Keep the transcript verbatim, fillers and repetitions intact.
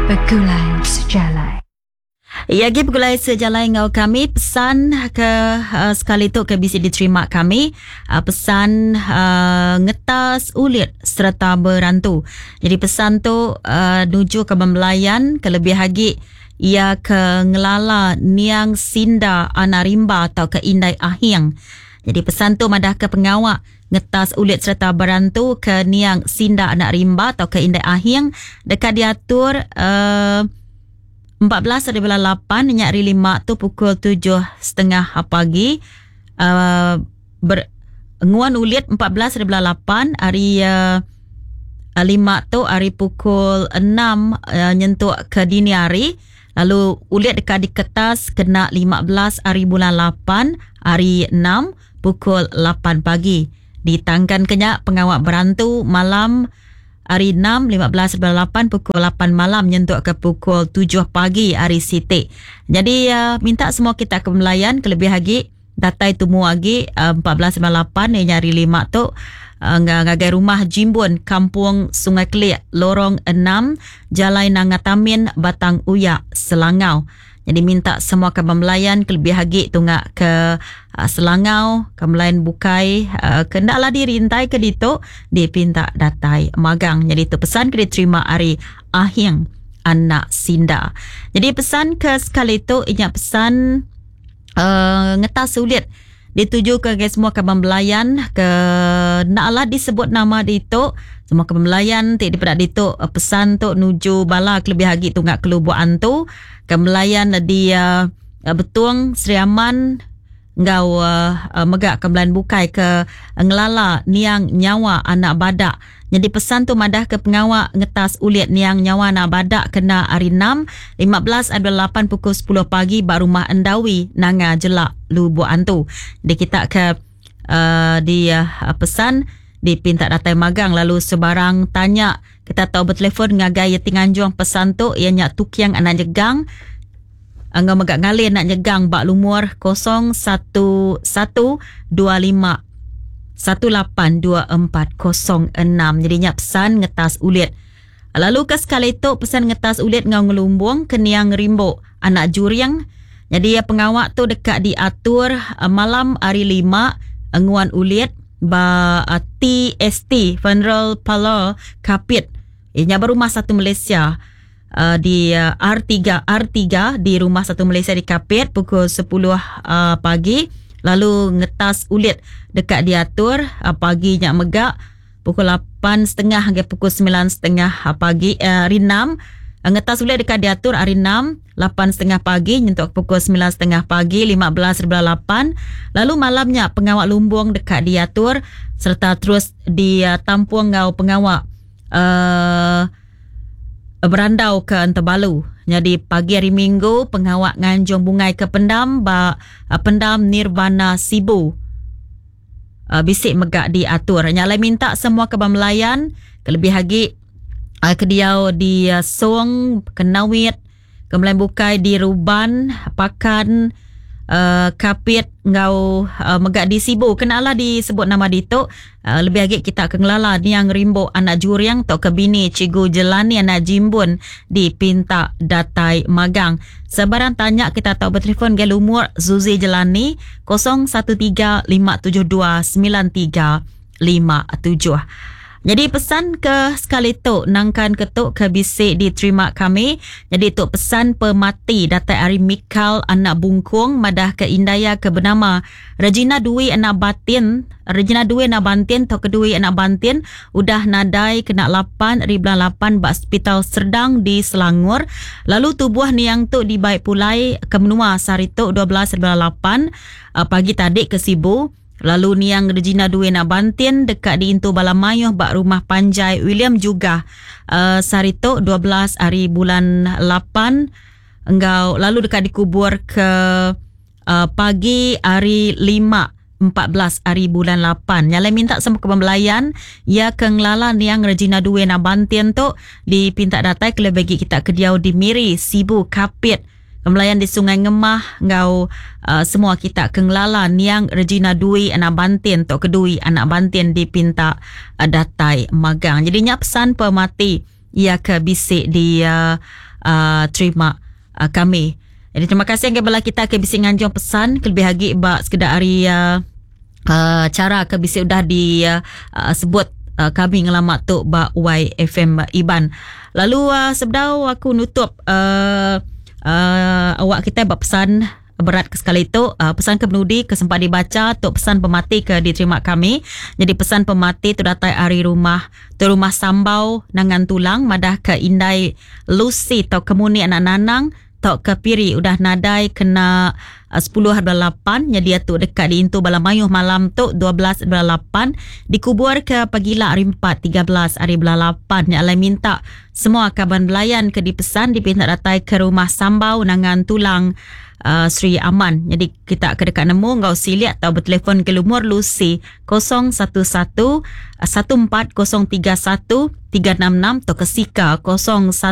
Begulai Sejalai. Ya, agi begulai sejalai enggau kami. Pesan ke uh, sekali tu ke bisi diterima kami, uh, pesan uh, ngetas ulit sereta berantu. Jadi pesan tu uh, nuju ke bemelayan, ke lebih agi ia ke ngelala Niang Sinda Anarimba atau ke Indai Ahing. Jadi pesan tu madah ke pengawak ngetas ulit sereta berantu ke Niang Sinda Anak Rimba atau ke Indai Ahing dekat diatur uh, empat belas hari bulan lapan nyak hari lima tu pukul tujuh setengah pagi. Uh, ber, nguan ulit empat belas hari bulan lapan hari uh, lima tu hari pukul enam uh, nyentuk ke dini hari. Lalu ulit dekat di kertas kena lima belas hari bulan lapan hari enam pukul lapan pagi. Ditangkan kenyak pengawak berantu malam hari enam, lima belas bulan lapan pukul lapan malam nyentuk ke pukul tujuh pagi hari Siti. Jadi uh, minta semua kita ke melayan kelebih lagi datai tumu lagi uh, empat belas bulan lapan ni hari lima tu uh, ngagai rumah Jimbun Kampung Sungai Kelik Lorong enam Jalai Nangatamin Batang Uyak Selangau. Jadi minta semua ke melayan kelebih lagi tunggak ke uh, Selangau, ke melayan bukai, uh, kendaklah dirintai ke ditu dipinta datai magang. Jadi itu pesan ke diterima hari Ahing Anak Sinda. Jadi pesan ke sekali tu ingat pesan uh, ngetas sulit dituju ke semua ke melayan ke naklah disebut nama ditu. Semua ke melayan ti dipedak ditu pesan tu nuju bala kelebih lagi tunggak kelubuan antu ke melayan di uh, Betung Sri Aman ngau uh, uh, megak ke melayan bukai ke ngelala Niang Nyawa Anak Badak. Jadi pesan tu madah ke pengawak ngetas ulit Niang Nyawa Anak Badak kena hari enam lima belas ada lapan pukul sepuluh pagi ba rumah Endawi Nanga Jelak Lubuk Antu. Jadi kita ke uh, di uh, pesan dipinta datai magang lalu sebarang tanya kita tahu bertelefon ngagai Yeti Nganjung pesan tu ianya Tukiang Anak Jegang ngau megak ngalin nak nyegang bak lumur kosong satu satu dua lima satu lapan dua empat kosong enam. Jadi nya pesan ngetas ulit. Lalu ke sekali tu pesan ngetas ulit ngau ngelumbung ke Niang Rimbo Anak Juriang. Jadi pengawak tu dekat diatur malam hari lima nguan ulit ba T S T Funeral Parlour Kapit. Ianya berumah satu Malaysia. Uh, di uh, R tiga, R tiga di rumah satu Malaysia di Kapit pukul sepuluh uh, pagi. Lalu ngetas ulit dekat diatur uh, pagi nyak megak pukul lapan setengah hingga pukul sembilan setengah pagi uh, hari enam. Uh, ngetas ulit dekat diatur hari enam lapan setengah pagi nyentuk pukul sembilan setengah pagi lima belas bulan lapan. Lalu malamnya pengawak lumbung dekat diatur serta terus ditampung ngau pengawak uh, berandau ke Antabalu. Jadi pagi hari Minggu pengawak nganjung bungai ke pendam ba pendam Nirvana Sibu. Uh, bisik megak diatur. Nyalai minta semua ke Melayan kelebih lagi uh, kediau di uh, Song, Kenawit, ke Melayan bukai di Ruban, Pakan, uh, Kapit ngau uh, megak di Sibu. Kenalah disebut nama ditu. Uh, lebih lagi kita ke ngelala Niang Rimbo Anak Juriang atau ke bini Cikgu Jelani Anak Jimbun di Pinta Datai Magang. Sebarang tanya kita tahu bertelefon ke lumur Zuzi Jelani kosong satu tiga lima tujuh dua sembilan tiga lima tujuh. Jadi pesan ke sekali tu nangkan ketuk ke bisik diterima kami. Jadi tu pesan pemati datai ari Mikal Anak Bungkung madah ke Indaya ke bernama Regina Dwi Anak Batin, Regina Dwi Anak Bantin atau kedui Anak Bantin udah nadai kena lapan ribuan lapan bak Hospital Serdang di Selangor. Lalu tubuh niang tu dibaik pulai ke menua sehari tu dua belas ribuan lapan pagi tadi ke Sibu. Lalu niang Regina Dwi Anak Bantin dekat di Intu Balamayuh bak rumah Panjai William juga uh, sehari tu dua belas hari bulan lapan engkau lalu dekat dikubur ke uh, pagi hari lima empat belas hari bulan lapan. Nyalai minta semua kebembelayan ya ke ngelala niang Regina Dwi Anak Bantin tu dipinta datai ke bagi kita ke diau di Miri, Sibu, Kapit. Melayan di Sungai Ngemah ngau uh, semua kita kengelala niang Regina Dwi Anak Bantin tok kedui Anak Bantin dipinta uh, datai magang. Jadi nya pesan pemati ia ke bisi di uh, uh, terima uh, kami. Jadi terima kasih kepada bala kita ke bisi nganjung pesan kelebih lagi ba sekedar hari uh, uh, cara ke bisi udah di uh, uh, sebut uh, kami ngelama tu ba Y F M Iban. Lalu uh, sebedau aku nutup uh, uh, awak kita ba pesan berat ke sekali itu, uh, pesan ke penudi ke sempat dibaca tu pesan pemati ke diterima kami. Jadi pesan pemati tu datang hari rumah tu, rumah Sambau Nangan Tulang, madah ke Indai Lucy atau Kemuni anak Nanang tok ke Piri udah nadai kena uh, sepuluh lapan. Jadi dia tu dekat di intu bala mayuh malam tu dua belas lapan, dikubur ke pagila hari empat tiga belas hari lapan. Nya alai minta semua kaban belayan ke dipesan dipinta datai ke rumah Sambau Nangan Tulang, uh, Sri Aman. Jadi kita ke dekat nemu ngau siliak atau bertelefon ke lumur Lucy kosong satu satu satu empat kosong tiga satu tiga enam enam atau ke Sika kosong satu